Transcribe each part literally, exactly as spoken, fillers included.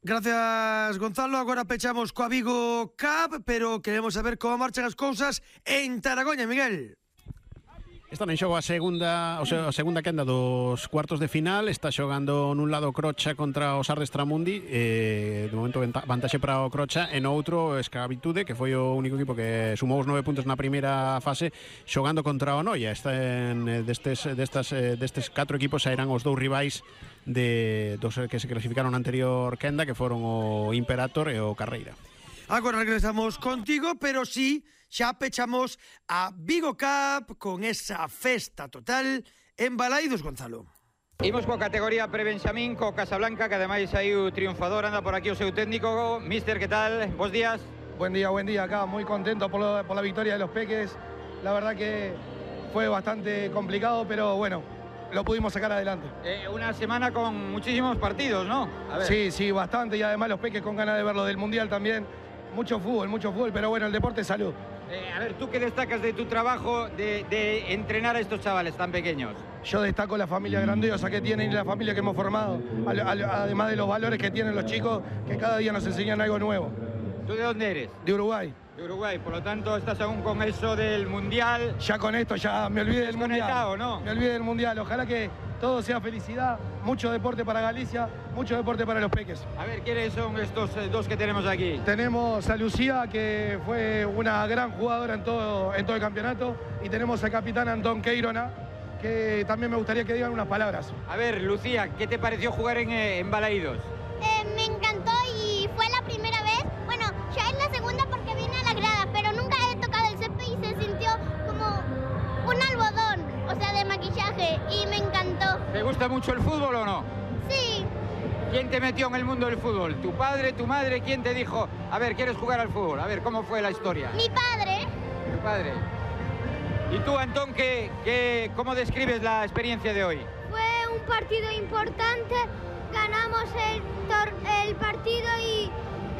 Gracias, Gonzalo. Agora pechamos coa Vigo Cup, pero queremos saber como marchan as cousas en Taragoña, Miguel. Están en xogo a segunda, o sea, a segunda quenda dos cuartos de final. Está xogando nun lado Crocha contra o Sardes Tramundi, eh, de momento vantaxe para o Crocha, e no outro Esclavitude, que foi o único equipo que sumou os nove puntos na primeira fase, xogando contra o Noia. Están destes, destas, destes catro equipos sairán os dous rivais de dos que se clasificaron na anterior quenda, que foron o Imperator e o Carreira. Agora regresamos contigo, pero sí, xa pechamos a Vigo Cup con esa festa total en Balaidos, Gonzalo. Imos coa categoría pre-Benxamín, co Casablanca, que ademais saiu triunfador. Anda por aquí o seu técnico. Mister, que tal? Bos días. Buen día, buen día acá. Muy contento por, lo, por la victoria de los Peques. La verdad que fue bastante complicado, pero bueno, lo pudimos sacar adelante. Eh, una semana con muchísimos partidos, ¿no? A ver. Sí, sí, bastante. Y además los Peques con ganas de verlo del Mundial también. Mucho fútbol, mucho fútbol, pero bueno, el deporte es salud. Eh, a ver, ¿tú qué destacas de tu trabajo de, de entrenar a estos chavales tan pequeños? Yo destaco la familia grandiosa que tienen y la familia que hemos formado, al, al, además de los valores que tienen los chicos, que cada día nos enseñan algo nuevo. ¿Tú de dónde eres? De Uruguay. De Uruguay, por lo tanto estás aún con eso del Mundial. Ya con esto, ya me olvidé del Mundial. ¿No? Me olvidé del Mundial, ojalá que todo sea felicidad, mucho deporte para Galicia, mucho deporte para los Peques. A ver, ¿quiénes son estos dos que tenemos aquí? Tenemos a Lucía, que fue una gran jugadora en todo, en todo el campeonato, y tenemos al capitán Antón Queirona, que también me gustaría que digan unas palabras. A ver, Lucía, ¿qué te pareció jugar en, en Balaidos? Eh, me encantó y fue la primera vez, bueno, ya es la segunda porque vine a la grada, pero nunca he tocado el césped y se sintió como un algodón, o sea, de maquillaje, y me encantó. ¿Te gusta mucho el fútbol o no? Sí. ¿Quién te metió en el mundo del fútbol? ¿Tu padre, tu madre? ¿Quién te dijo, a ver, quieres jugar al fútbol? A ver, ¿cómo fue la historia? Mi padre. Tu padre. ¿Y tú, Antón, qué, qué, cómo describes la experiencia de hoy? Fue un partido importante, ganamos el, tor el partido y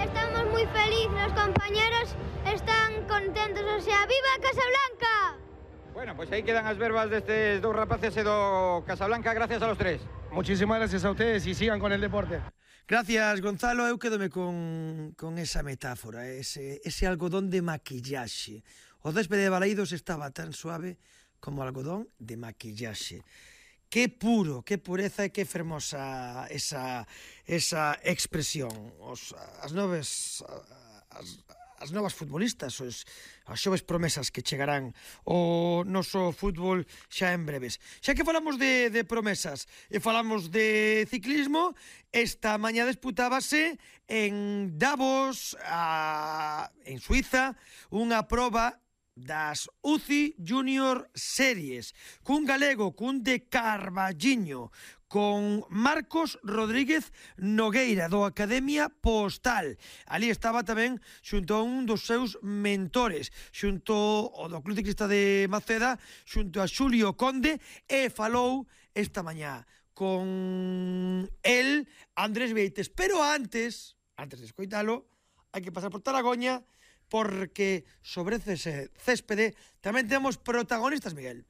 estamos muy felices, los compañeros están contentos, o sea, ¡viva Casablanca! Bueno, pues ahí quedan as verbas destes dous rapaces e do Casablanca, gracias a los tres. Muchísimas gracias a ustedes y sigan con el deporte. Gracias, Gonzalo. Eu quedome con, con esa metáfora, ese, ese algodón de maquillaxe. O céspede de Balaidos estaba tan suave como algodón de maquillaxe. Qué puro, qué pureza e qué fermosa esa, esa expresión. Os, as noves... As, as novas futbolistas, os, as xoves promesas que chegarán ao noso fútbol xa en breves. Xa que falamos de, de promesas e falamos de ciclismo, esta mañá disputábase en Davos, a, en Suiza, unha proba das U C I Junior Series, cun galego, cun de Carballiño, con Marcos Rodríguez Nogueira, do Academia Postal. Ali estaba tamén xunto a un dos seus mentores, xunto ao do Club Ciclista de Maceda, xunto a Xulio Conde, e falou esta mañá con el, Andrés Beites. Pero antes, antes de escoitalo, hai que pasar por Taragoña, porque sobre ese céspede tamén temos protagonistas, Miguel.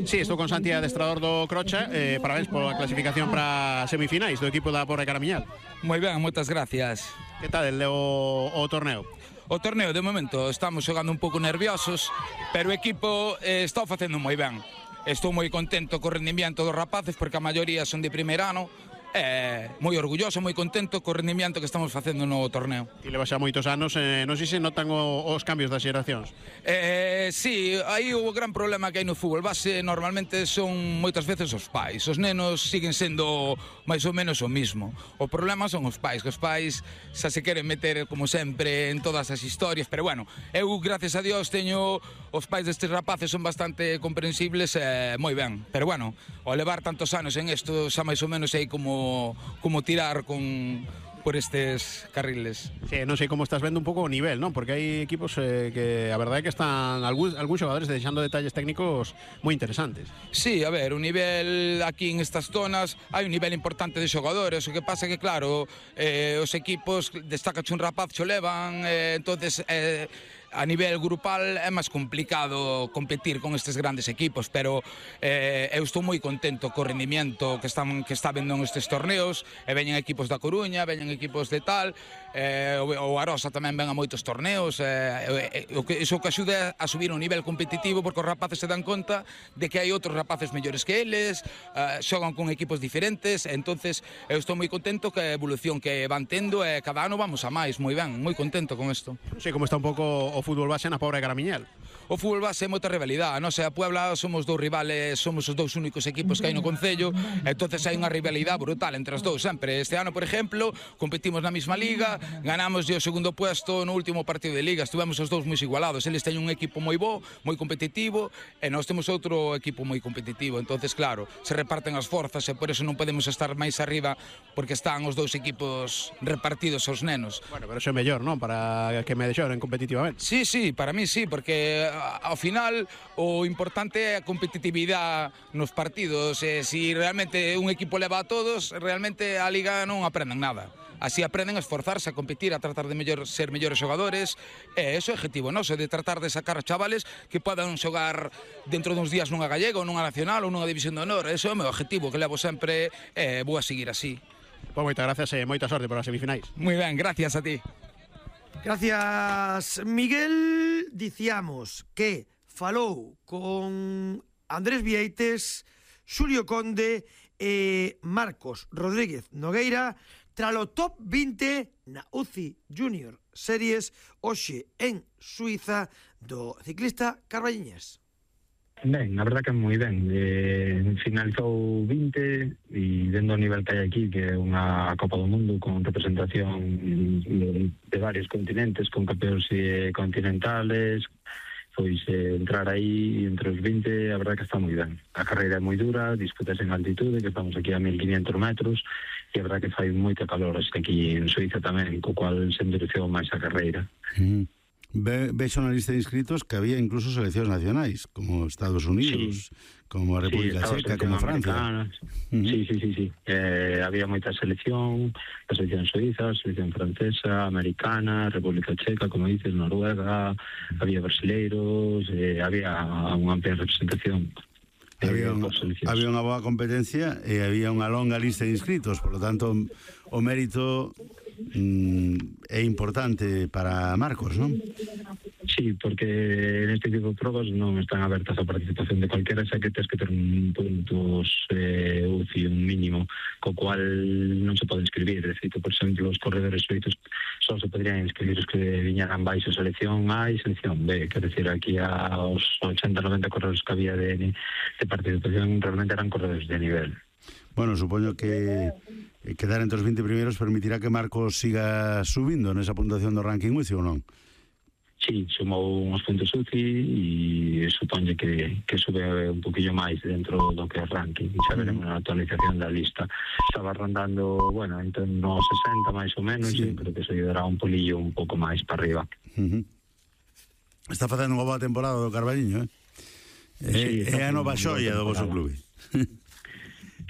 Sí, estou con Santi, adestrador do Crocha. eh, Parabéns pola clasificación para semifinais do equipo da Porra Caramiñal. Moi ben, moitas gracias. Que tal el, o, o torneo? O torneo, de momento, estamos xogando un pouco nerviosos, pero o equipo eh, está facendo moi ben. Estou moi contento co rendimiento dos rapaces, porque a maioría son de primeiro ano. Eh, moi orgulloso, moi contento co rendimiento que estamos facendo no torneo. E leva xa moitos anos, eh, non sei se notan o, os cambios das xeracións. Eh, sí, aí o gran problema que hai no fútbol base normalmente son moitas veces os pais. Os nenos siguen sendo máis ou menos o mismo. O problema son os pais, que os pais xa se queren meter como sempre en todas as historias, pero bueno, eu gracias a Dios teño os pais destes rapaces son bastante comprensibles e eh, moi ben. Pero bueno, ao levar tantos anos en isto xa máis ou menos sei como como tirar con por estes carriles. Sí, non sei como estás vendo un pouco o nivel, non? Porque hai equipos eh, que a verdade é que están algúns, algúns xogadores deixando detalles técnicos moi interesantes. Sí, a ver, o nivel aquí en estas zonas hai un nivel importante de xogadores. O que pasa é que, claro, eh, os equipos destaca un rapaz xo levan, eh, entonces eh, a nivel grupal é máis complicado competir con estes grandes equipos, pero eh, eu estou moi contento co rendimiento que están que está vendo nestes torneos, e veñen equipos da Coruña, veñen equipos de tal, eh, o, o Arosa tamén ven a moitos torneos, eh, eh, o que, iso que axuda a subir un nivel competitivo, porque os rapaces se dan conta de que hai outros rapaces mellores que eles, eh, xogan con equipos diferentes, entonces eu estou moi contento que a evolución que van tendo, e eh, cada ano vamos a máis, moi ben, moi contento con isto. Non sei como está un pouco o fútbol base na pobre Garamiñel. O fútbol base é moita rivalidade, non sei, a Puebla somos dous rivales, somos os dous únicos equipos que hai no concello, entonces hai unha rivalidade brutal entre os dous sempre. Este ano, por exemplo, competimos na mesma liga, ganamos o segundo puesto no último partido de liga, estivemos os dous moi igualados, eles teñen un equipo moi bo, moi competitivo, e nós temos outro equipo moi competitivo, entonces claro, se reparten as forzas e por eso non podemos estar máis arriba, porque están os dous equipos repartidos aos nenos. Bueno, pero iso é mellor, non? Para que me deixoren competitivamente. Sí, sí, para mí sí, porque ao final o importante é a competitividade nos partidos, e se realmente un equipo leva a todos, realmente a liga non aprenden nada. Así aprenden a esforzarse, a competir, a tratar de mellor, ser mellores xogadores, e ese é o objetivo noso, de tratar de sacar a chavales que podan xogar dentro duns días nunha gallega ou nunha nacional ou nunha división de honor. Ese é o meu objetivo, que levo sempre, e vou a seguir así. Pois moitas gracias e moita sorte para as semifinais. Moi ben, gracias a ti. Gracias, Miguel. Dicíamos que falou con Andrés Vieites, Xulio Conde e Marcos Rodríguez Nogueira tralo top vinte na U C I Junior Series hoxe en Suiza do ciclista carballiñés. Ben, a verdad que moi ben. Eh, finalizou vinte e dentro do nivel que hai aquí, que é unha Copa do Mundo con representación de, de varios continentes, con campeóns eh, continentales, pois eh, entrar aí entre os vinte, a verdad que está moi ben. A carreira é moi dura, disputas en altitude, que estamos aquí a mil quinhentos metros, e a verdad que fai moito calor aquí en Suiza tamén, co cual se endureceu máis a carreira. Mm. Ve, vexo na lista de inscritos que había incluso seleccións nacionais, como Estados Unidos, sí, como a República sí, Checa, como Francia. Uh-huh. Sí, sí, sí, sí. Eh, había moita selección, a selección suiza, a selección francesa, americana, República Checa, como dices, Noruega, había brasileiros, eh, había unha amplia representación. Había, un, había unha boa competencia e había unha longa lista de inscritos, por lo tanto o mérito mm, é importante para Marcos, non? Sí, porque neste tipo de probas non están abertas a participación de cualquiera, xa que tens que ter un puntos eh, U C I, un mínimo, co cual non se pode inscribir. De feito, por exemplo, os corredores suizos só se podrían inscribir os que viñeran baixo selección A e selección B, quer decir, aquí aos ochenta noventa corredores que había de, de participación realmente eran corredores de nivel. Bueno, supoño que quedar entre os vinte primeiros permitirá que Marcos siga subindo nesa puntuación do ranking U C I ou non? Sí, sumou uns puntos U C I e supoñe que, que sube un poquillo máis dentro do que é ranking. Xa veremos na actualización da lista. Estaba rondando, bueno, entre nos sesenta máis ou menos, sí. E creo que se dará un polillo un pouco máis para arriba. Uh-huh. Está facendo unha boa temporada do Carballiño, eh? Sí, é a nova xoia do vosso clube.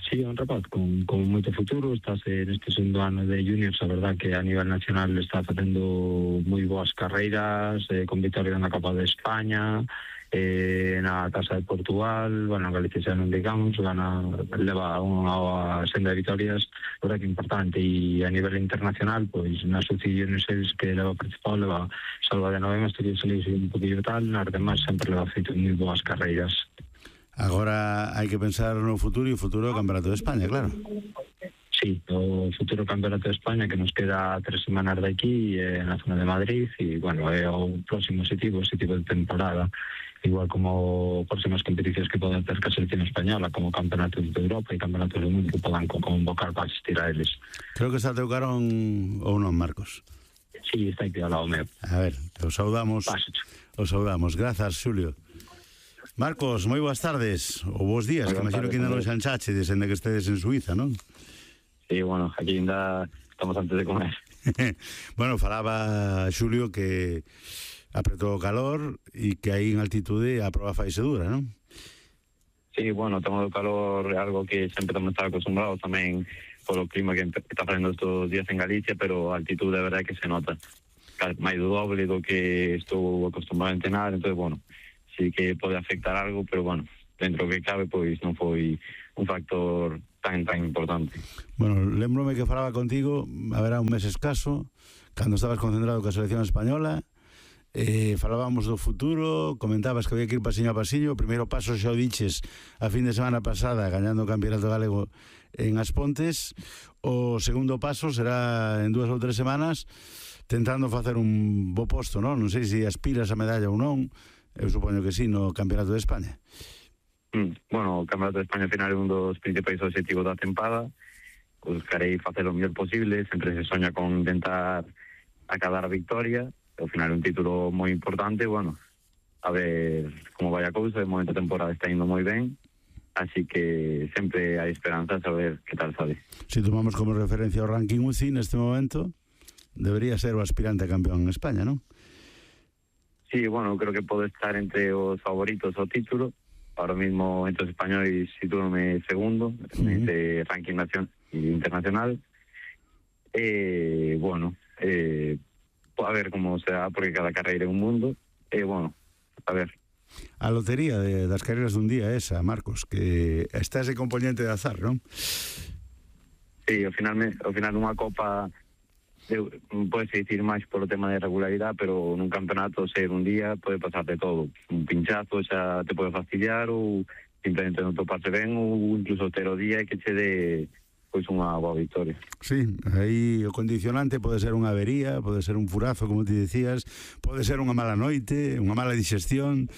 Sí, un rapaz con, con moito futuro, estáse neste segundo ano de juniors, a verdad que a nivel nacional está facendo moi boas carreiras, eh, con vitorias na Copa de España, eh, na Casa de Portugal, bueno, Galicia xa non digamos, gana, leva unha senda de vitorias, a verdad que importante, e a nivel internacional, pois nas U C I Juniors que leva participado, leva salva de nove meses, que se un poquillo tal, nas demais sempre leva feito moi boas carreiras. Agora hai que pensar no futuro e o futuro do Campeonato de España, claro. Sí, o futuro Campeonato de España que nos queda tres semanas de aquí eh, na zona de Madrid e, bueno, é o próximo objetivo, ese tipo de temporada, igual como próximas competicións que poden ter que a selección española, como Campeonatos de Europa e Campeonatos do Mundo que podan convocar para asistir a eles. Creo que está teu carón ou non, Marcos? Sí, está aquí ao lado meu. A ver, os saudamos. Paso. Os saudamos. Grazas, Xulio. Marcos, moi boas tardes, ou bons días, que imagino que ainda non xanchache, desde que estedes en Suiza, non? Sí, bueno, aquí ainda estamos antes de comer. Bueno, falaba Xulio que apretou o calor e que aí en altitude a prova faise dura, non? Sí, bueno, o tema do calor é algo que sempre estamos acostumbrados tamén polo clima que está facendo estes días en Galicia, pero a altitude é verdade que se nota. máis do doble do que estou acostumbrado a entrenar, entón, bueno, sí que pode afectar algo, pero, bueno, dentro do que cabe, pois non foi un factor tan, tan importante. Bueno, lembrome que falaba contigo, haberá un mes escaso, cando estabas concentrado coa selección española, eh, falábamos do futuro, comentabas que había que ir pasiño a pasiño, o primeiro paso xa o diches a fin de semana pasada, gañando o Campeonato Galego en As Pontes, o segundo paso será en dúas ou tres semanas, tentando facer un bo posto, non? Non sei se aspiras a medalla ou non, eu supoño que sí, no Campeonato de España. Mm, bueno, o Campeonato de España ao final é un dos principais objetivos da tempada. Buscarei facer o mellor posible, sempre se soña con intentar acabar a victoria. Ao final é un título moi importante, bueno, a ver como vai a cousa. De momento a temporada está indo moi ben, así que sempre hai esperanza a saber que tal sabe. Se tomamos como referencia o ranking U C I neste momento, debería ser o aspirante a campeón en España, non? Sí, bueno, creo que pode estar entre os favoritos ao título. Ahora mismo entre os españoles sitúame segundo uh-huh. en este ranking nacional e internacional. Eh, bueno, eh, a ver como será, porque cada carreira é un mundo. Eh, bueno, a ver. A lotería de, das carreiras dun día esa, Marcos, que está ese componente de azar, non? Sí, ao final, ao final unha copa pode dicir máis polo tema de regularidade, pero nun campeonato ser un día pode pasarte todo. Un pinchazo xa te pode fastidiar, ou simplemente non toparse ben, ou incluso ter o día que che dé pois unha boa victoria. Sí, aí o condicionante pode ser unha avería, pode ser un furazo, como ti decías, pode ser unha mala noite, unha mala digestión,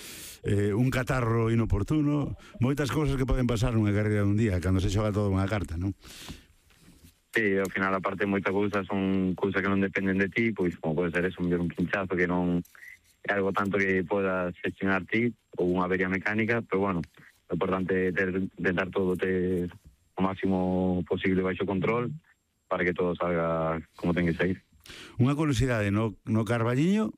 eh, un catarro inoportuno, moitas cousas que poden pasar nunha carreira dun día, cando se xoga todo unha carta, non? Sí, ao final, aparte, moitas cousas son cousas que non dependen de ti, pois como pode ser eso, un pinchazo que non é algo tanto que podas gestionar ti, ou unha avería mecánica, pero bueno, o importante é ter, tentar todo ter o máximo posible baixo control para que todo salga como ten que sair. Unha curiosidade, no, no Carballiño,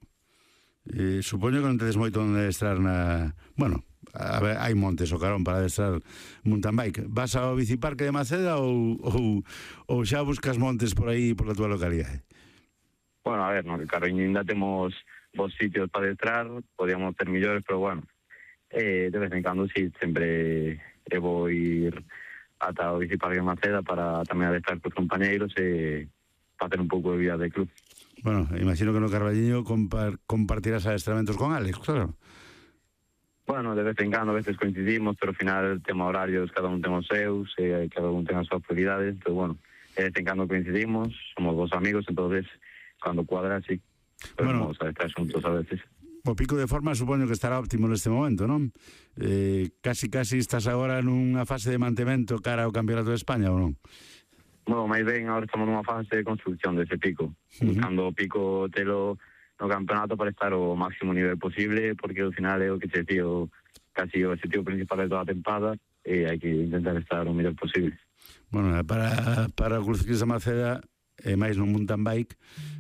eh, supoño que non tedes moito onde adestrar na... Bueno, a ver, hai montes o carón para adestrar mountain bike. Vas ao biciparque de Maceda ou, ou, ou xa buscas montes por aí, por a tua localidade? Bueno, a ver, no Carballiño ainda temos vos sitios para adestrar, podíamos ter millores, pero bueno, eh, de vez en cando sí, sempre eh, vou ir ata o biciparque de Maceda para tamén adestrar cos compañeiros e facer un pouco de vida de club. Bueno, imagino que no Carballiño compar, compartirás adestramentos con Alex, claro. Bueno, de vez en cando, a veces coincidimos, pero ao final el tema horarios, cada un ten os seus, e cada un ten as súas prioridades, pero bueno, de vez en cando coincidimos, somos dos amigos, entonces, cando cuadra, sí, pero bueno, vamos a estar xuntos a veces. O pico de forma supoño que estará óptimo neste momento, non? Eh, casi, casi estás agora nunha fase de mantemento cara ao Campeonato de España, ou non? Bueno, máis ben, agora estamos nunha fase de construcción dese pico, uh-huh. buscando o pico telo no campeonato para estar ao máximo nivel posible, porque ao final é o que se tío, casi o objetivo principal de toda a tempada, e hai que intentar estar o mellor posible. Bueno, para, para o Club Ciclista Maceda, e máis no mountain bike,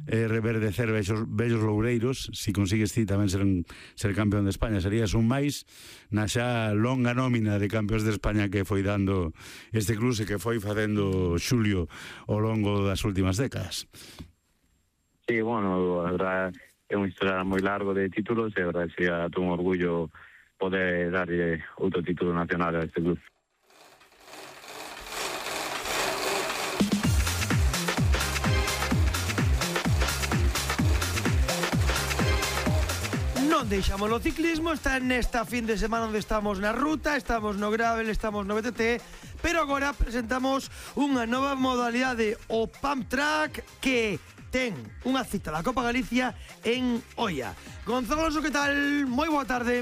é reverdecer bellos, bellos loureiros. Si consigues ti tamén ser, ser campeón de España, serías un máis na xa longa nómina de campeóns de España que foi dando este club e que foi facendo Xulio ao longo das últimas décadas. Sí, bueno, a verdad é un historial moi largo de títulos e a verdad sería todo un orgullo poder darlle outro título nacional a este club. Non deixamos o ciclismo, está nesta fin de semana onde estamos na ruta, estamos no gravel, estamos no B T T, pero agora presentamos unha nova modalidade, o Pump Track, que ten unha cita da Copa Galicia en Oia. Gonzalo Alonso, que tal? Moi boa tarde.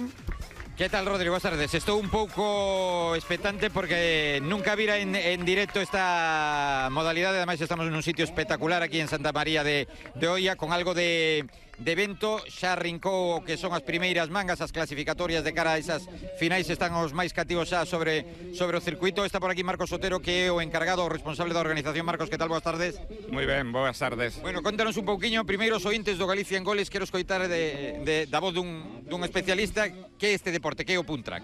Que tal, Rodrigo? Boas tardes. Estou un pouco expectante porque nunca vira en, en directo esta modalidade. Ademais, estamos en un sitio espectacular aquí en Santa María de, de Oia, con algo de, de vento. Xa rincou o que son as primeiras mangas, as clasificatorias de cara a esas finais. Están os máis cativos xa sobre, sobre o circuito. Está por aquí Marcos Otero, que é o encargado, o responsable da organización. Marcos, que tal? Boas tardes. Moi ben, boas tardes. Bueno, contanos un pouquiño, primeiro os ointes do Galicia en Goles. Quero escoitar de, de, da voz dun, dun especialista que é este deporte, que é o Pump Track.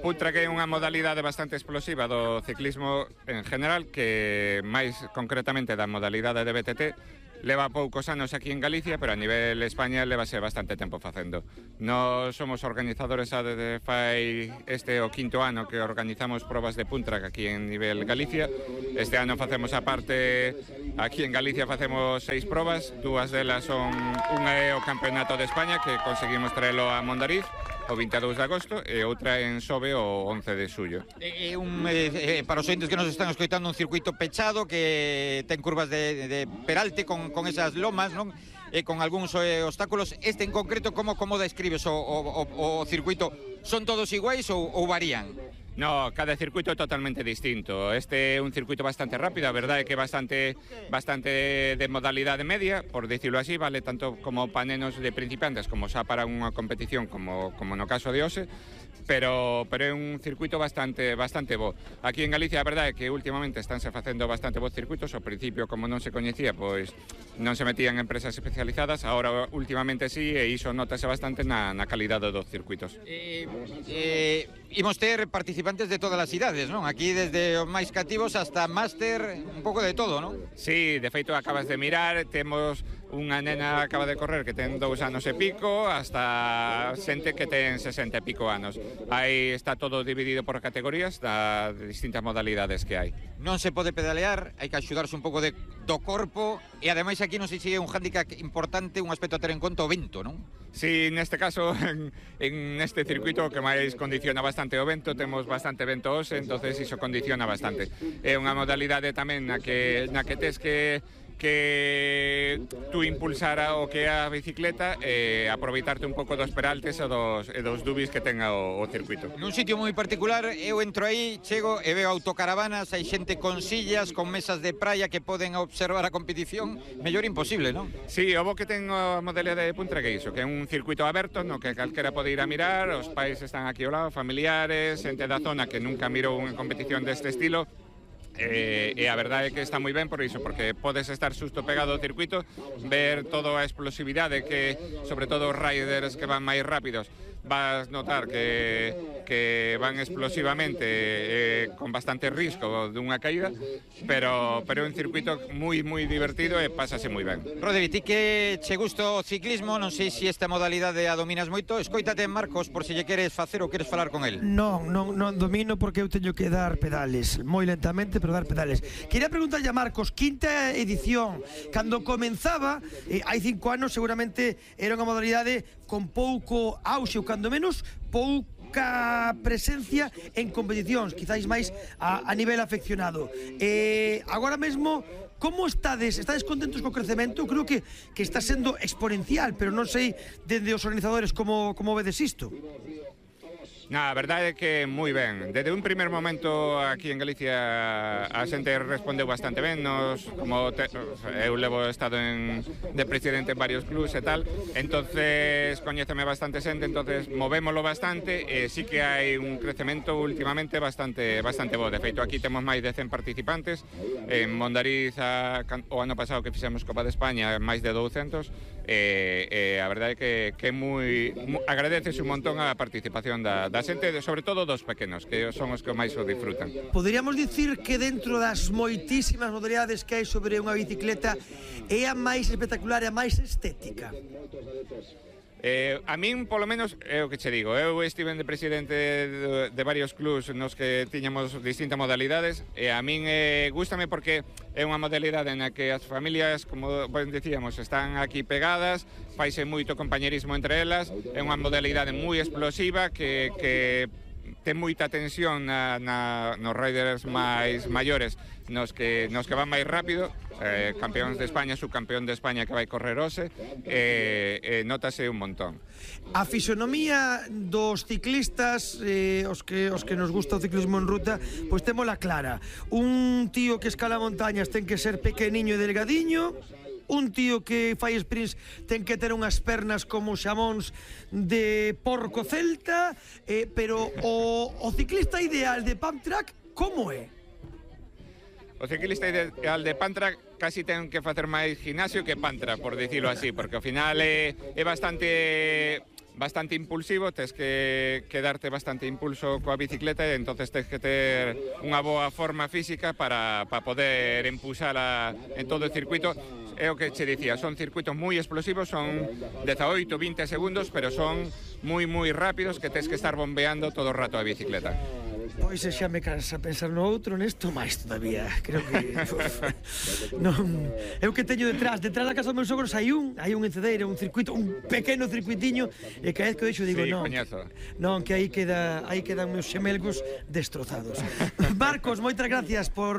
Pump Track é unha modalidade bastante explosiva do ciclismo en general, que máis concretamente da modalidade de B T T, leva poucos anos aquí en Galicia, pero a nivel España levase bastante tempo facendo. Nós somos organizadores a desde fai este o quinto ano que organizamos probas de puntrack aquí en nivel Galicia. Este ano facemos a parte, aquí en Galicia facemos seis probas, dúas delas son unha é o Campeonato de España que conseguimos traelo a Mondariz o vinte e dous de agosto e outra en Sobe o once de xullo. É un, eh, para os ointes que nos están escoitando, un circuito pechado que ten curvas de, de peralte con, con esas lomas, non? E con algúns eh, obstáculos. Este en concreto, como, como describes o, o, o circuito? Son todos iguais ou, ou varían? No, cada circuito é totalmente distinto. Este é un circuito bastante rápido, a verdade é que bastante bastante de modalidade media, por dicirlo así, vale tanto como para nenos de principiantes como xa para unha competición como, como no caso de Ose, pero, pero é un circuito bastante bastante bo. Aquí en Galicia a verdade é que últimamente estánse facendo bastante bons circuitos. Ao principio, como non se coñecía, pois non se metían empresas especializadas, agora últimamente sí, e iso notase bastante na, na calidade dos circuitos. Eh, eh, imos ter participantes de todas as idades, non? Aquí desde os máis cativos hasta máster, un pouco de todo, non? Sí, de feito acabas de mirar, temos unha nena acaba de correr que ten dous anos e pico hasta xente que ten sesenta e pico anos. Aí está todo dividido por categorías das distintas modalidades que hai. Non se pode pedalear, hai que axudarse un pouco de, do corpo e ademais aquí non sei se é un hándicap importante, un aspecto a ter en conta o vento, non? Sí, neste caso, en, en este circuito que máis condiciona bastante o vento, temos bastante vento hoxe, entonces iso condiciona bastante. É unha modalidade tamén na que, na que tes que que tú impulsara o que é a bicicleta e aproveitarte un pouco dos peraltes e dos, e dos dubis que tenga o, o circuito. Nun sitio moi particular, eu entro aí, chego e veo autocaravanas, hai xente con sillas, con mesas de praia que poden observar a competición, mellor imposible, non? Sí, o bo que ten a modalidade de puntra que iso, que é un circuito aberto no que calquera pode ir a mirar, os pais están aquí ao lado, familiares, xente da zona que nunca mirou unha competición deste estilo. E, e a verdade é que está moi ben por iso, porque podes estar xusto pegado ao circuito, ver toda a explosividade que, sobre todo os riders que van máis rápidos, vas notar que, que van explosivamente eh, con bastante risco dunha caída, pero, pero é un circuito moi, moi divertido e pásase moi ben. Rodri, ti que che gusta o ciclismo, non sei se esta modalidade a dominas moito, escoítate Marcos por se lle queres facer ou queres falar con el. Non, non, non domino porque eu teño que dar pedales, moi lentamente, pero dar pedales. Quería preguntarlle a Marcos, quinta edición, cando comenzaba, eh, hai cinco anos seguramente era unha modalidade con pouco auxe, ou cando menos pouca presencia en competicións, quizáis máis a, a nivel afeccionado. Eh, agora mesmo, como estades? Estades contentos co crecemento? Creo que, que está sendo exponencial, pero non sei dende os organizadores como, como vedes isto. Na, a verdade é que moi ben. Desde un primer momento aquí en Galicia a xente respondeu bastante ben. Nos, como te, eu levo estado en, de presidente en varios clubs e tal, entonces coñéceme bastante xente, entonces movémolo bastante e sí que hai un crecemento últimamente bastante bastante bo. De feito, aquí temos máis de cen participantes. En Mondariz a, o ano pasado que fixemos Copa de España máis de douscentos e, e a verdade é que, que moi, moi agradeces un montón a participación da, da xente, sobre todo dos pequenos, que son os que máis o disfrutan. Poderíamos dicir que dentro das moitísimas modalidades que hai sobre unha bicicleta é a máis espectacular e a máis estética? Eh, a min, polo menos, é o que che digo. Eu estive de presidente de, de varios clubs nos que tiñamos distintas modalidades e a min eh, gústame porque é unha modalidade na que as familias, como ben decíamos, están aquí pegadas, faise moito compañerismo entre elas, é unha modalidade moi explosiva que, que ten moita tensión na, na, nos riders máis maiores, nos que, nos que van máis rápido, eh, campeóns de España, subcampeón de España que vai correr hoxe, e eh, eh, notase un montón. A fisonomía dos ciclistas, eh, os, que, os que nos gusta o ciclismo en ruta, pois témola clara. Un tío que escala montañas ten que ser pequeniño e delgadiño, un tío que fai sprints ten que ter unhas pernas como xamóns de porco celta, eh, pero o, o ciclista ideal de pump track, como é? O ciclista ideal de Pantra casi ten que facer máis gimnasio que Pantra, por dicirlo así, porque ao final é, é bastante bastante impulsivo, tes que, que darte bastante impulso coa bicicleta e entonces tes que ter unha boa forma física para, para poder impulsala en todo o circuito. É o que che dicía, son circuitos moi explosivos, son dezaoito, vinte segundos, pero son moi, moi rápidos que tes que estar bombeando todo o rato a bicicleta. Pois xa me cansa pensar no outro, nesto máis todavía. Creo que uf, non, eu que teño detrás, detrás da casa dos meus sogros hai un, hai un encedeiro, un circuito, un pequeno circuitiño, e cada vez que o deixo digo, sí, non, coñazo. non, que aí queda, aí quedan meus xemelgos destrozados. Marcos, moitas gracias por